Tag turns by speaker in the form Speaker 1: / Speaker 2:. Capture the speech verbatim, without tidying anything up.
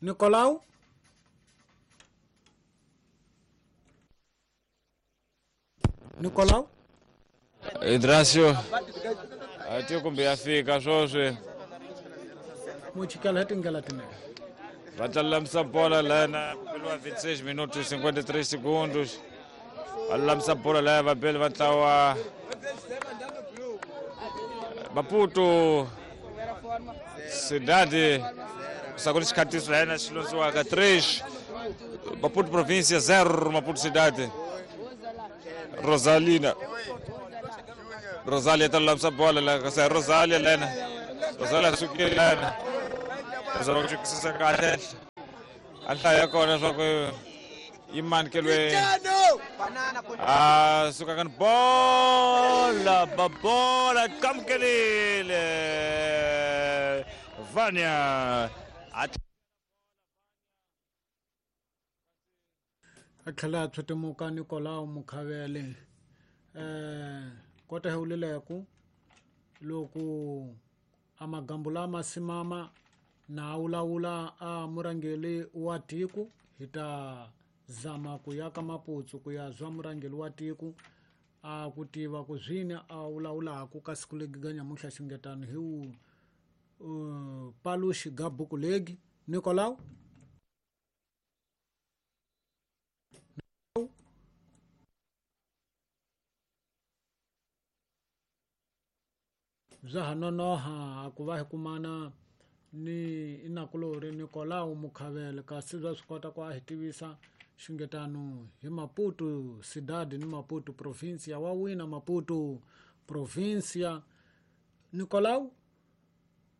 Speaker 1: Nicolau Nicolau
Speaker 2: Idrasio ati kumbe ya fika swoswi
Speaker 1: muchikela hi tindlela tinene
Speaker 2: va ta lulamisa bola lana ku vinte e seis minutos cinquenta e três segundos va lulamisa bola laya vabeli va ntlawa Maputo Cidade sakuli xikhatiso layena xi londziwaka três Maputo província zero Maputo Cidade Rosalina Rosalia ta lulamisa bola la kasi Rosalia lena Rosalia sukile lena Rosalia ku xikisisa kahle a nhlayo ya kona swa ku yi manikeliwe a suka kan bola babola kamukelile Vanya
Speaker 1: a tlhela a tshwetemuka Nicolau Mukhavele eh kota hi wulileku loko a magambu lama simama na wulawula a murhangeri wa tiko hi ta zama ku ya ka Maputsu ku ya zwa murhangeri wa tiko a ku tiva ku zwini a wulawulaku ka siku legi ga nyamuntlha xingetano hi wu uh, paluxi ga buku legi Nicolau bya ha nonoha ku va hi kumana ni inakulori Nicolau Mukhavele kasi bya swi kota ku a hi tivisa xingetano hi Maputo Cidade ni Maputo província wa wina Maputo província Nicolau.